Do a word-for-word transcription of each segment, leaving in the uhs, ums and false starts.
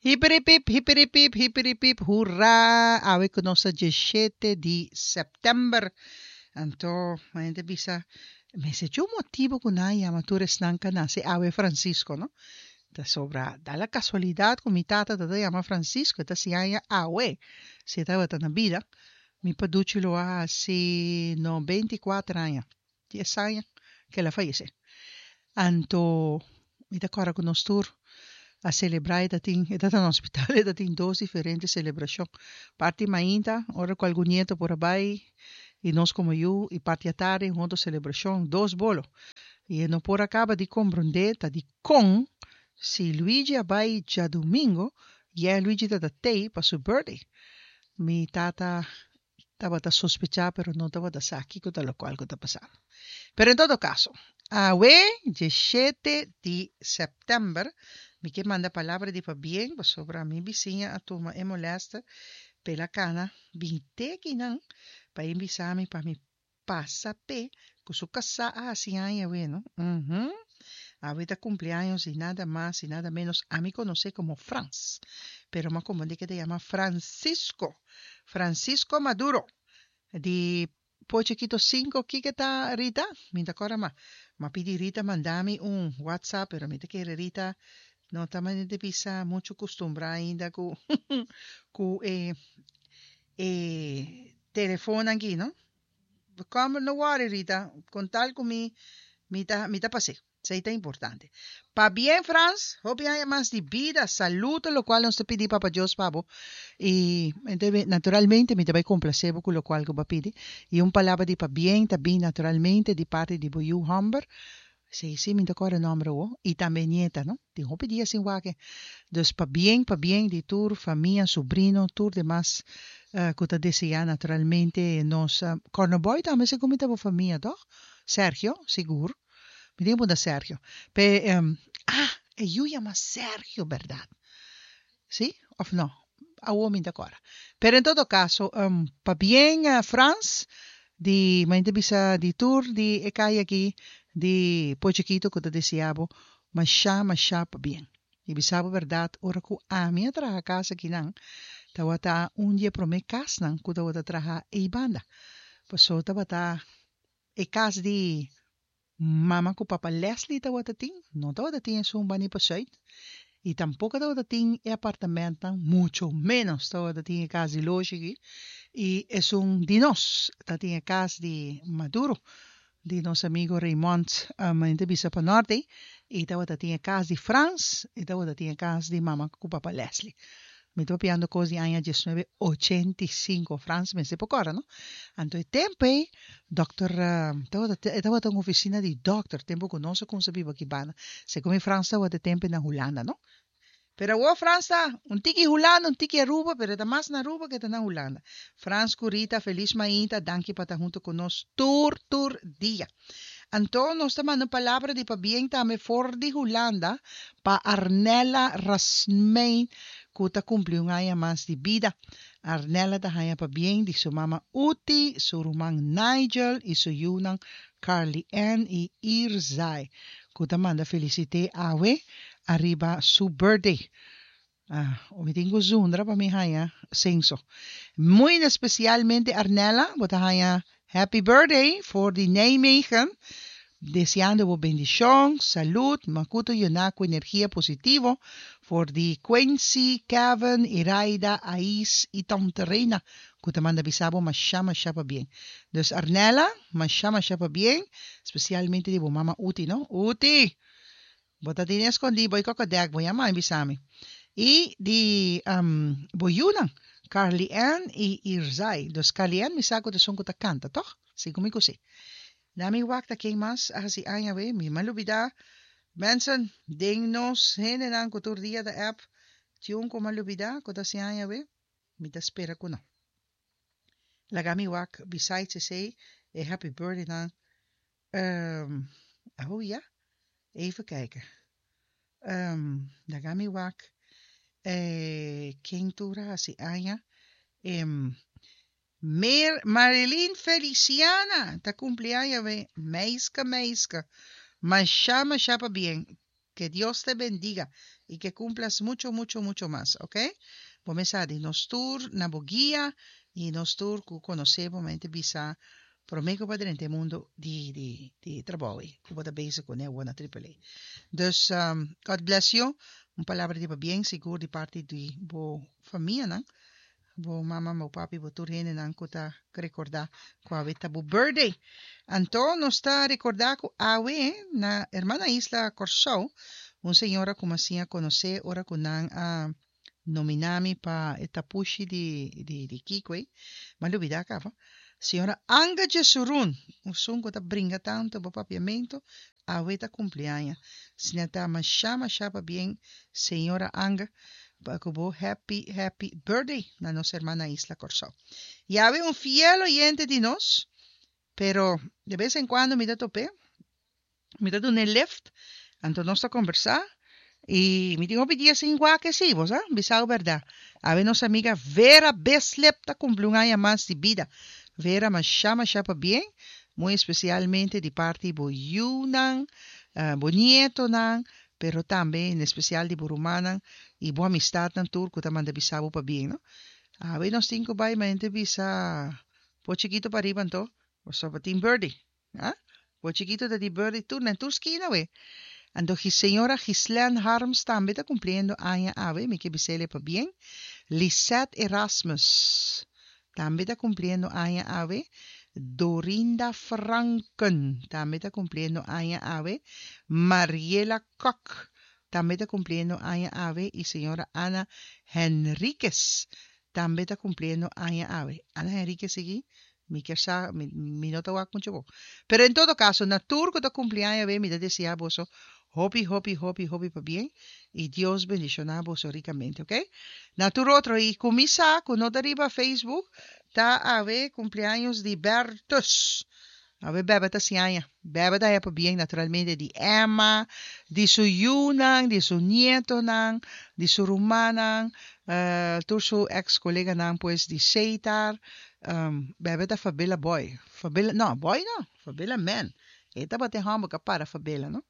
Hiperipip, hiperipip, hiperipip, hurra! Awe ku nos ta diesshete di sèptèmber. Anto, hende bisa, mester dje un motibu ku nan a yama tur esnan ku a nase awe Francisco, no? Ta sobra, da la kasualidat ku mi tata ta yama Francisco, e ta hasi aña awe, si e tabata na bida, mi paduchi lo a hasi noventa i kuater aña, dies aña ku el a fayesé. Anto, mi ta kòrda ku nos tur a selebrá, e ta tin, e ta na hospital, e ta tin dos diferente selebrashon. Parti mainta, ora ku algun nieto por a bai, i nos komo yu, i parti atardi, un otro selebrashon, dos bolo. I e no por a kaba di komprondé ta dikon si Luigi a bai djadumingu, ya Luigi tabata tei pa su birthday. Mi tata tabata sospechá pero no tabata sa kiko ta lokual ku ta pasando. Pero en todo kaso, awe diesshete di sèptèmber mi ke manda palabra di pabien pasobra mi bisiña a tuma e molèster p'el a kana bin te akinan pa e bisa mi pa mi pasa p'e ku su kasá a hasi aña awe no. Uhum. Awe ta kumpleaños di nada mas i nada ménos ami konosé komo Frans, pero mi a komprendé ke ta yama Francisco, Francisco Maduro di Pochekito sinku. Kiko ta Rita? Mi ta kòrda ma mi a pidi Rita manda mi un WhatsApp, pero mi ta kere Rita no ta manera di bisa muchu kustumbrá ainda ku ku e e telefonnan aki no. Kom no worry, Rita, kon tal ku mi mi ta mi ta pas'é. Esei ta importante. Pabien, Frans, hopi aña mas di bida, salud ta lokual nos ta pidi Papa Dios pa bo. I naturalmente mi ta bai komplasé bo ku lokual ku bo a pidi. I un palabra di pabien ta bin naturalmente di parti di bo yu hòmber. Sí, sí, mi ta kòrda e nòmber awor. I tambe nieta, no? Tin hopi dia sin wak e. Dus pabien, pabien di tur famia, subrino, tur demas ku ta deseá naturalmente nos. Kòrnobòi tambe segun mi ta bo famia, tòg? Sergio, sigur. Mi tin ku punta Sergio. Pe, ah, e yu yama Sergio, bèrdat? Sí òf no? Awor mi ta kòrda. Pero en todo kaso, pabien, Frans, di mi ta bisa di tur di e kaya aki di Pochikito ku ta deseá bo mashá mashá pabien. I bisa bo bèrdat, ora ku ami a traha kas akinan, tabata un di e promé kasnan ku tabata traha ei banda. Pasobra tabata e kas di mama ku papa Leslie tabata tin, no tabata tin esun banda pa sùit. I tampoko tabata tin e apartamentnan, mucho ménos tabata tin e kas di Loshi aki. I esun di nos, tatin e kas di Maduro, di nos amigo Raymond, mi ta bisa pa norte, i tabata tin e kas di Frans, i tabata tin e kas di mama ku papa Leslie. Mi ta papiando kos di aña diesnuebe ochenta i sinku, Frans mester por kòrda, no? Anto e tempu ei, dòkter, tabata, e tabata un ofisina di dòkter, tempu ku nos a kumsa biba aki banda. Segun mi Frans tabata e tempu ei na Hulanda, no? Pero awor Frans ta un tiki Hulanda, un tiki Aruba, pero e ta mas na Aruba ke ta na Hulanda. Frans ku Rita, felis mainta, danki pa ta huntu ku nos tur tur dia. Anto nos ta manda un palabra di pabien tambe for di Hulanda pa Arnella Rasmijn ku ta kumpli un aña mas di bida. Arnella ta haña pabien di su mama Uti, su ruman Nigel i su yunan Carly Ann i Irzai ku ta manda felisit'é awe ariba su birthday. Ah, mi tin ku zundra pa mi haña senso. Muy especialmente, Arnella, bo ta haña happy birthday for di Nijmegen. Deseando bo bendishon, salud, makuto yená ku energia positivo for di Quincy, Kevin, Iraida, Ais i Tante Reina ku ta manda bisa bo mashá mashá pabien. Dus Arnella, mashá mashá pabien, spesialmente di bo mama Uti, no? Uti! Bo ta tene eskondí bo i kokodèk bo yama i bisa mi. I di um, bo yunan, Carly Ann i Irzai. Dus Carly Ann mi sa ku ta esun ku ta kanta, tòg? Segun mi ku si. Na mi wak ta ken mas a hasi aña awe, mi a lubidá. Mensen, den nos hendenan ku tur dia ta app, tin un ku mi a lubidá ku ta hasi aña awe? Mi ta spera ku no. Laga mi wak, besides esei, e happy birthday nan. Um, oh ja, even kijken. Um, laga mi wak. Eh, ken tur a hasi aña? Em, Mer Marilyn Feliciana ta kumpli aña awe. Meiske, meiske. Mashá, mashá pabien. Que Dios te bendiga y que cumplas mucho, mucho, mucho mas, ok? Bo mes sa di nos tur na bo guia y nos tur ku konosé bo mente bisa promé ku bo a drenta e mundo di di di trabou ei ku bo ta bezig kuné awor na Triple A. Dus um, God bless you. Un palabra di pabien sigur di parti di bo famianan, bo mama, bo papi, bo tur hendenan ku ta rekordá ku awe ta bo birthday. Anto nos ta rekordá ku awe na hermana isla Kòrsou un señora ku mi a siña konosé ora ku nan a nominá mi pa e tapushi di di di kiko ei, mi a lubidá kaba. Señora Anga Jesurun, esun ku ta bringa tantu bo papiamentu, awe ta kumpli aña. Asina ta mashá mashá pabien señora Anga pa ku bo happy happy birthday na nos hermana isla Kòrsou. I awe un fiel oyente di nos, pero de bes en kuando mi ta top'é, mi ta dun'é lift, anto nos ta kombersá i mi tin hopi dia sin wak esei, bo sa, bisao bèrdat. Awe nos amiga Vera Bislip ta kumpli un aña mas di bida. Vera, mashá mashá pabien, muy espesialmente di parti bo yunan, bo nietonan, pero tambe en espesial di bo rumannan i bo amistatnan tur ku ta manda bisa bo pabien, no. Awe nos tin ku bai mente bisa bo chikito pariba anto, pasobra tin birthday, ah. Bo chikito ta di birthday tur na tur skina awe. Anto señora Ghislaine Harms tambe ta cumpliendo aña awe, mi ke bisele pabien. Lisette Erasmus tambe ta cumpliendo aña awe. Dorinda Franken tambe ta cumpliendo aña awe. Mariela Kok tambe ta cumpliendo aña awe y señora Ana Henriquez tambe ta cumpliendo aña awe. Ana Henriquez sigui mi kier sa, mi mi no ta wak mucho bon. Pero en todo caso, na tur cu ta cumpli aña awe mi ta desea boso hopi hopi hopi hopi pabien y Dios bendiciona boso ricamente, ok? Na tur otro y cu mi sa cu no ta riba Facebook ta awe cumpleaños di Bertus. Awe Bebe ta hasi aña. Bebe ta haña pabien naturalmente di Emma, di su yunan, di su nietonan, di su rumannan, tur su ex coleganan pues di Seitar. Bebe ta Fabela boy. Fabela, no, boy no, Fabela man. E tabata e hòmber ku a para Fabela, no?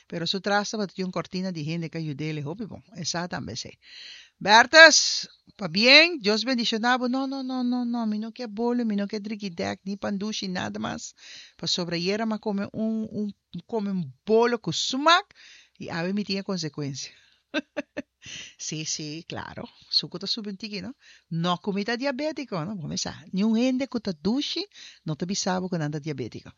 Pero su tras tabata tin un cortina di hende ku a yud'é hopi bon. E sa tambe esei. Bertus, pabien, Dios bendiciona bo. No, no, no, no, no, mi no ke bolo, mi no ke drikidek, ni pandushi, nada mas. Pasobra ayera mi a come un, un, come un bolo cu smaak y awe mi tin e consecuencia. Sí, sí, claro. Suku ta subi un tiki, no? No ku mi ta diabétiko, no? Bo me sa, niun hende ku ta dushi no ta bisa bo ku nan ta diabétiko.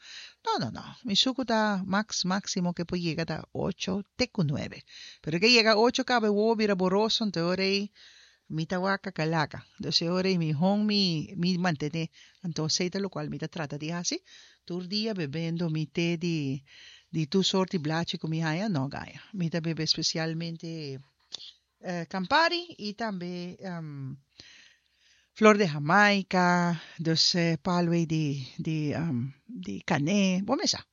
No, no, no. Mi suku ta max, máximo ke por yega ta ocho te ku nuebe. Pero ke yega ocho kaba e wowo bira boroso, anto e ora ei mi ta wak kakalaka. Dus e ora ei mihó mi mi mantené. Anto esei ta lokual mi ta trata di hasi tur dia bebendo mi te di di tur sorti blachi ku mi haña, no gaña. Mi ta bebe espesialmente Campari y tambe flor de Jamaica, dus palu ei di di di cané, bo mesa.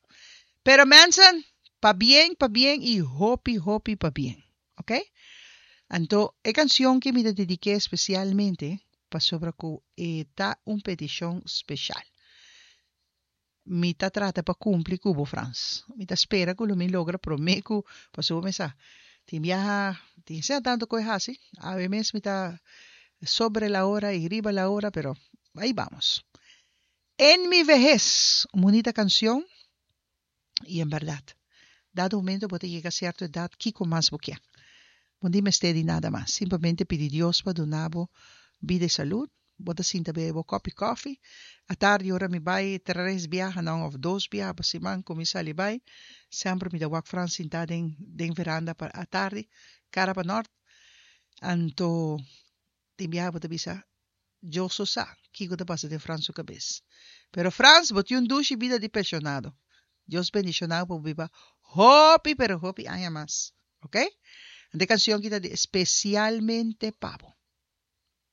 Pero mensen, pabien, pabien y hopi, hopi pabien, ok? Anto e cancion ki mi ta dediké especialmente pasobra cu e ta un peticion special. Mi ta trata pa cumpli cu bo, Frans. Mi ta spera cu lo mi logra prome cu pasobra bo mesa tin biaha tin sea tanto cu e haci. Awe mes mi ta sobre la hora y riba la hora pero ahi bamos. En mi vehez, un bunita cancion y en berdad dado momento bo ta yega cierto edad kico mas bo kier? Bo no tin mester di nada mas, simplemente pidi Dios pa duna bo bida y salud. Bo ta sinta bebe bo kòpi kòfi. Atardi ora mi bai tres biahanan òf dos biaha pa siman ku mi sali bai, semper mi ta wak Frans sintá den den veranda pa atardi, kara pa nòrt. Anto tin biaha bo ta bisa, Dios so sa kiko ta pasa den Frans su kabes. Pero Frans, bo tin un dushi bida di penshonado. Dios bendishoná bo pa bo biba hopi pero hopi aña mas. Oke? Anto e kanshon ki ta di spesialmente pa bo.